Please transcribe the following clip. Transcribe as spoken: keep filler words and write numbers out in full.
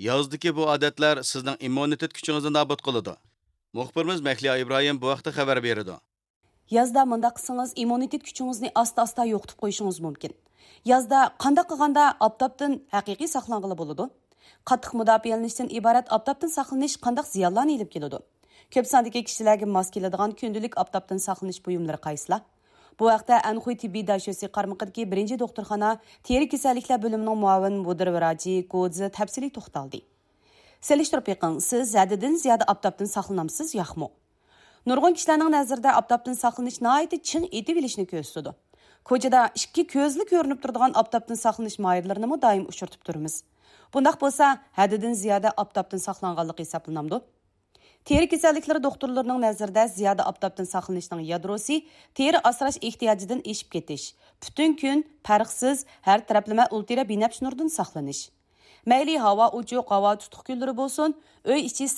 يازدىكى بۇ ئادەتلەر سىزنىڭ ئىممۇنىتېت كۈچىڭىزنى نابۇت قىلىدۇ. مۇخبىرىمىز مەھلىيا ئىبراھىم بۇ ھەقتە خەۋەر بېرىدۇ. يازدا مۇنداق قىلسىڭىز، ئىممۇنىتېت كۈچىڭىزنى ئاستا-ئاستا يوقىتىپ قويۇشىڭىز مۇمكىن. يازدا قانداق قىلغاندا ئاپتاپتىن ھەقىقىي ساقلانغىلى بولىدۇ؟ قاتتىق مۇداپىئەلىنىشتىن ئىبارەت ئاپتاپتىن ساقلىنىش قانداق زىيانلارنى ئېلىپ كېلىدۇ؟ كۆپ ساندىكى كىشىلەرگە ماس كېلىدىغان كۈندىلىك ئاپتاپتىن ساقلىنىش بۇيۇملىرى قايسىلار؟ بۇ ھەقتە ئەنخۇي تېببىي داشۆسى قارمىقىدىكى بىرىنچى دوختۇرخانا تېرە كېسەللىكلەر بۆلۈمىنىڭ مۇئاۋىن مۇدىر ۋراچى گو زى تەپسىلىي توختالدى. سېلىشتۇرۇپ بېقىڭ، سىز ھەددىدىن زىيادە ئاپتاپتىن ساقلىنامسىز ياقمۇ؟ نۇرغۇن كىشىلەرنىڭ نەزىرىدە ئاپتاپتىن ساقلىنىش ناھايىتى چىڭ ئېتىۋېلىشنى كۆرسىتىدۇ. كوچىدا ئىككى كۆزلا كۆرۈنۈپ تۇرىدىغان ئاپتاپتىن ساقلىنىش ماھىرلىرىنىمۇ دائىم ئۇچرىتىپ تۇرىمىز. بۇنداق بولسا، ھەددىدىن زىيادە ئاپتاپتىن ساقلانغانلىقى ھېسابلىنامدۇ؟ تېرە كېسەللىكلىرى دوختۇرلىرىنىڭ نەزىرىدە، زىيادە ئاپتاپتىن ساقلىنىشنىڭ يادروسى تېرە ئاسراش ئېھتىياجىدىن ئېشىپ كېتىش، پۈتۈن كۈن پەرقسىز ھەر تەرەپلىمە ئۇلترا بىنەپشە نۇرىدىن ساقلىنىش. مەيلى ھاۋا ئوچۇق، ھاۋا تۇتۇق كۈنلىرى بولسۇن، ئۆي ئىچى